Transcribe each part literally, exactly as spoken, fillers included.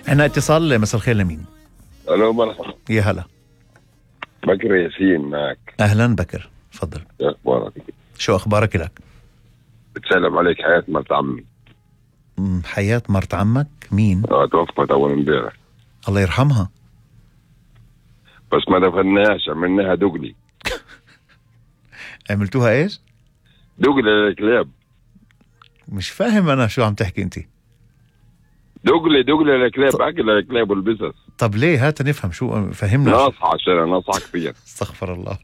عنا اتصال. مساء الخير لمين؟ الو مرحبا. يا هلا. بكر ياسين معك. اهلا بكر، تفضل. شو اخبارك؟ شو اخبارك لك؟ بتسلم عليك حياة مرت عمي. أمم، حياة مرت عمك مين؟ اه توفت اول امبارح. الله يرحمها. بس ما دفناهاش، عملناها دقلي. عملتوها ايش؟ دقلي للكلاب. مش فاهم انا شو عم تحكي انت. دقلي دقلي للكلاب، ط- اكل للكلاب والبسس. طب ليه؟ هات نفهم شو، فهمنا. ناصحة عشان ناصحة كثير. استغفر الله.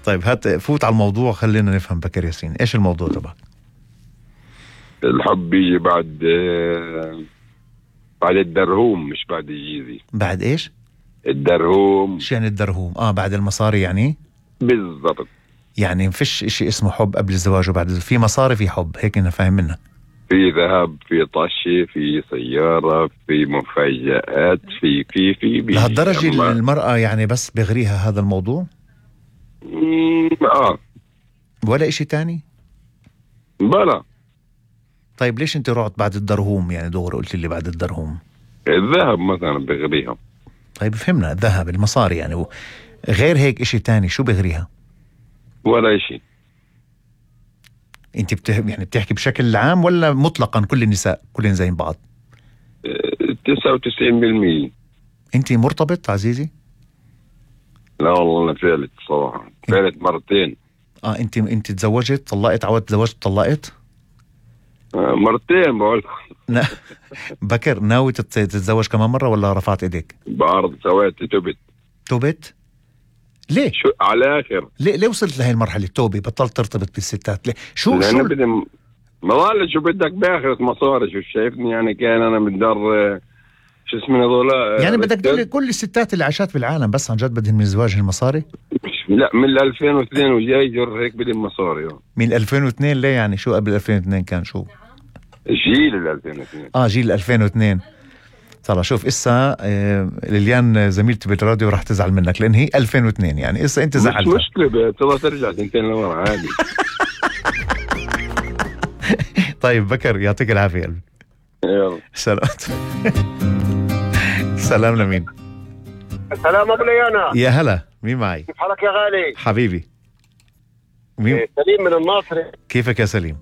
طيب هات فوت على الموضوع، خلينا نفهم بكر ياسين، ايش الموضوع تبعك؟ الحب بيجي بعد آه، بعد الدرهوم، مش بعد الجيزي. بعد ايش؟ الدرهوم شو يعني الدرهوم؟ اه بعد المصاري يعني؟ بالضبط. يعني ما فيش اشي اسمه حب قبل الزواج وبعد، في مصاري في حب، هيك انا فاهم منك. في ذهب، في طشة، في سيارة، في مفاجآت، في في في بيجي. لهالدرجة أما- المرأة يعني بس بغريها هذا الموضوع مم، اه ولا اشي تاني؟ بلا. طيب ليش انت رحت بعد الدرهوم يعني دغري قلت لي بعد الدرهوم؟ الذهب مثلا بغريها. طيب فهمنا، الذهب المصاري يعني و- غير هيك اشي تاني شو بغريها؟ ولا شيء. انت بته... يعني بتحكي بشكل عام ولا مطلقا كل النساء كلهم زي بعض؟ تسعة وتسعين بالمية. انت مرتبط عزيزي؟ لا والله انا فالت صراحة، فالت مرتين. اه انت انت تزوجت طلقت عودت تزوجت طلقت؟ آه، مرتين بقول. لا. بكر ناوي تت- تتزوج كمان مرة ولا رفعت ايديك؟ بعرض سويت تبت. توبت؟ ليه؟ شو على اخر؟ ليه ليه وصلت لهي المرحلة التوبة بطلت ترتبط بالستات؟ ليه؟ شو لأن شو بدي م- ما ضل شو بدك باخرة مصاري، شو شايفني يعني كان انا من دار آه، شو اسمه هذول آه، يعني بدك تقول لي رجال. كل الستات اللي عاشت بالعالم بس عن جد بدهن من الزواج المصاري؟ لا من ألفين واثنين وجاي جر هيك بدي مصاري. من ألفين واثنين ليه يعني؟ شو قبل ألفين واثنين كان شو؟ جيل ال ألفين واثنين. اه جيل ألفين واثنين. طلع شوف اسا آه ليليان زميلتي بالراديو راح تزعل منك لان هي ألفين واثنين، يعني اسا انت مش زعلتها. مشكلة ترى ترجع سنتين لورا عادي. طيب بكر يعطيك العافية قلبي. يلا سلام. سلام لمين؟ السلام ابو ليانا. يا هلا، مين معي؟ كيف حالك يا غالي؟ حبيبي مين؟ إيه، سليم من الناصري. كيفك يا سليم؟